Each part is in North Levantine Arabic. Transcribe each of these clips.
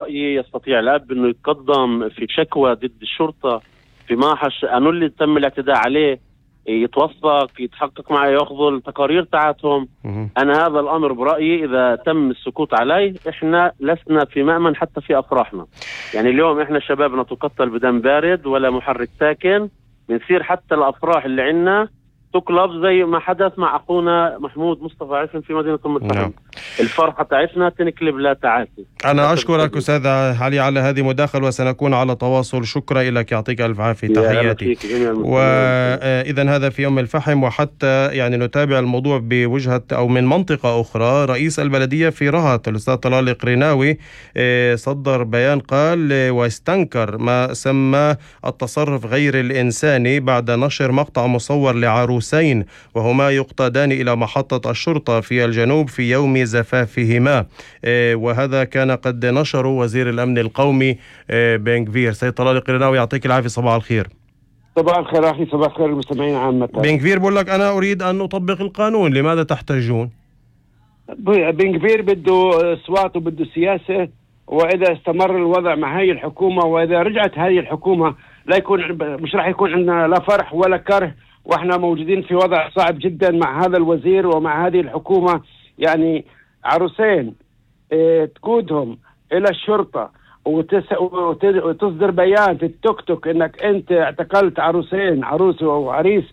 برأيي يستطيع الأب أنه يتقدم في شكوى ضد الشرطة في محش أنه اللي تم الاعتداء عليه، يتوثق، يتحقق معه، يأخذوا التقارير تاعتهم. أنا هذا الأمر برأيي إذا تم السكوت عليه إحنا لسنا في مأمن حتى في أفراحنا. يعني اليوم إحنا شبابنا تقتل بدم بارد ولا محرك ساكن، بنصير حتى الأفراح اللي عنا تقلب زي ما حدث مع أخونا محمود مصطفى عفن في مدينة المتحدة. الفرحة تاعتنا تنقلب لا تعاسي. أنا أشكرك أستاذ علي على هذه المداخلة وسنكون على تواصل. شكرا لك، يعطيك ألف عافية، تحياتي. وإذا هذا في يوم الفحم. وحتى يعني نتابع الموضوع بوجهة أو من منطقة أخرى، رئيس البلدية في رهط الأستاذ طلال القريناوي صدر بيان قال واستنكر ما سمى التصرف غير الإنساني بعد نشر مقطع مصور لعروسين وهما يقتادان إلى محطة الشرطة في الجنوب في يوم زفافهما، وهذا كان قد نشره وزير الأمن القومي بن غفير. سيد طلال القريناوي يعطيك العافية، صباح الخير. صباح الخير أخي، صباح الخير المستمعين عامة. بن غفير بقول لك أنا أريد أن أطبق القانون، لماذا تحتجون؟ بن غفير بده أصوات وبده سياسة، وإذا استمر الوضع مع هاي الحكومة وإذا رجعت هاي الحكومة لا يكون مش راح يكون عندنا لا فرح ولا كره، واحنا موجودين في وضع صعب جدا مع هذا الوزير ومع هذه الحكومة. يعني عروسين تقودهم إلى الشرطة وتصدر بيان في التوك توك انك انت اعتقلت عروسين، عروس وعريس،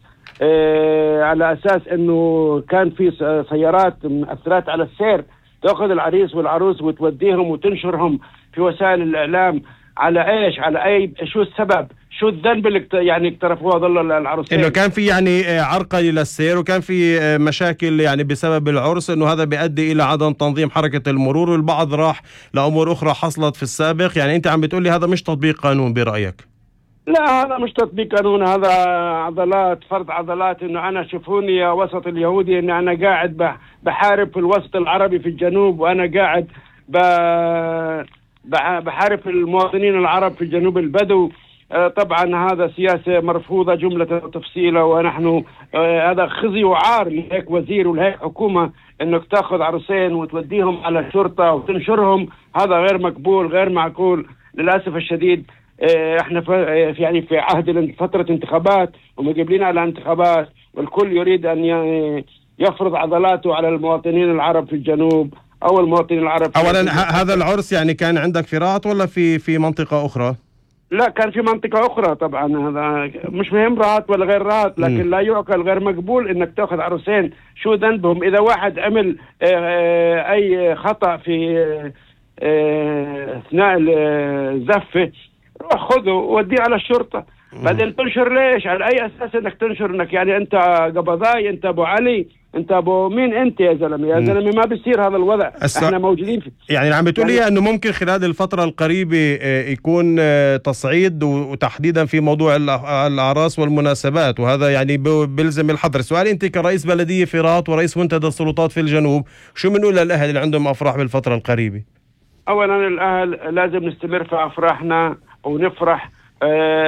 على اساس انه كان في سيارات مؤثرات على السير، تأخذ العريس والعروس وتوديهم وتنشرهم في وسائل الإعلام. على ايش؟ على اي شو السبب؟ شو الذنب اللي يعني اقترفوها ظل العروسين؟ انه كان في يعني عرقلة للسير وكان في مشاكل يعني بسبب العرس، انه هذا بيؤدي الى عدم تنظيم حركة المرور، والبعض راح لامور اخرى حصلت في السابق. يعني انت عم بتقولي هذا مش تطبيق قانون برأيك؟ لا، هذا مش تطبيق قانون، هذا عضلات، فرض عضلات. انه انا شوفوني يا وسط اليهودي ان انا قاعد بحارب في الوسط العربي في الجنوب، وانا قاعد بحارب المواطنين العرب في الجنوب البدو. طبعا هذا سياسة مرفوضة جملة وتفصيلة، ونحن هذا خزي وعار لهيك وزير ولهيك حكومة انك تاخذ عروسين وتوديهم على الشرطة وتنشرهم. هذا غير مقبول، غير معقول. للأسف الشديد احنا في عهد فترة انتخابات ومقبلين على انتخابات، والكل يريد ان يفرض عضلاته على المواطنين العرب في الجنوب او المواطنين العرب. اولا هذا العرس يعني كان عندك في رهط ولا في منطقة اخرى؟ لا، كان في منطقة أخرى. طبعا هذا مش مهم رهط ولا غير رهط، لكن لا يعقل، غير مقبول إنك تأخذ عروسين. شو ذنبهم؟ إذا واحد عمل أي خطأ في أثناء الزفة، روح خذه ووديه على الشرطة. بعدين تنشر ليش؟ على أي أساس إنك تنشر إنك يعني أنت قبضاي، أنت أبو علي، انت ابو مين انت يا زلمه؟ يا زلمه ما بيصير هذا الوضع. احنا موجودين يعني عم بتقول لي انه ممكن خلال الفتره القريبه يكون تصعيد وتحديدا في موضوع الاعراس والمناسبات، وهذا يعني بيلزم الحذر. سؤال، انت كرئيس بلديه في رهط ورئيس منتدى السلطات في الجنوب، شو بنقول للاهل اللي عندهم افراح بالفتره القريبه؟ اولا الاهل لازم نستمر في افراحنا ونفرح،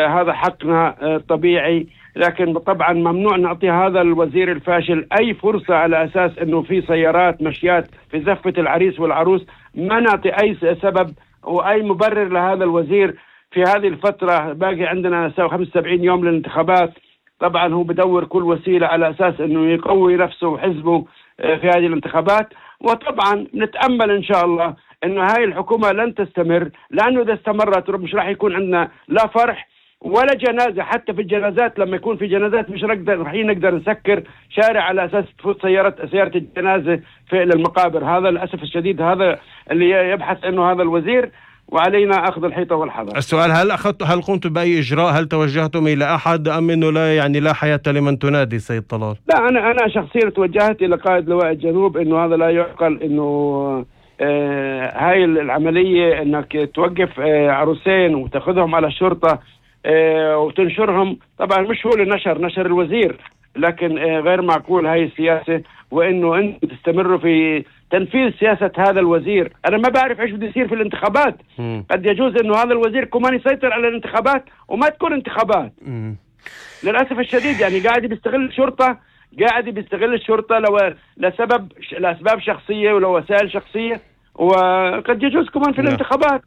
هذا حقنا طبيعي، لكن طبعا ممنوع نعطي هذا الوزير الفاشل أي فرصة على أساس أنه في سيارات مشيات في زفة العريس والعروس. ما نعطي أي سبب وأي مبرر لهذا الوزير في هذه الفترة. باقي عندنا 75 يوم للانتخابات. طبعا هو بدور كل وسيلة على أساس أنه يقوي نفسه وحزبه في هذه الانتخابات. وطبعا نتأمل إن شاء الله أنه هاي الحكومة لن تستمر، لأنه إذا استمرت مش راح يكون عندنا لا فرح ولا جنازة. حتى في الجنازات لما يكون في جنازات مش راح نقدر نسكر شارع على أساس تفوت سيارة الجنازة في المقابر. هذا للأسف الشديد، هذا اللي يبحث أنه هذا الوزير، وعلينا أخذ الحيطة والحذر. السؤال، هل قمتم بأي إجراء؟ هل توجهتم إلى أحد أم أنه لا حياة لمن تنادي سيد طلال؟ لا، أنا شخصيا توجهت إلى قائد لواء الجنوب أنه هذا لا يعقل، أنه هاي العملية أنك توقف عروسين وتأخذهم على الشرطة وتنشرهم. طبعا مش هو اللي نشر الوزير، لكن غير معقول هاي السياسة، وانه انتم تستمروا في تنفيذ سياسة هذا الوزير. انا ما بعرف ايش بده يصير في الانتخابات. قد يجوز انه هذا الوزير كمان يسيطر على الانتخابات وما تكون انتخابات. للأسف الشديد يعني قاعد بيستغل الشرطة لأسباب شخصية ولوسائل شخصية، وقد يجوز كمان في الانتخابات.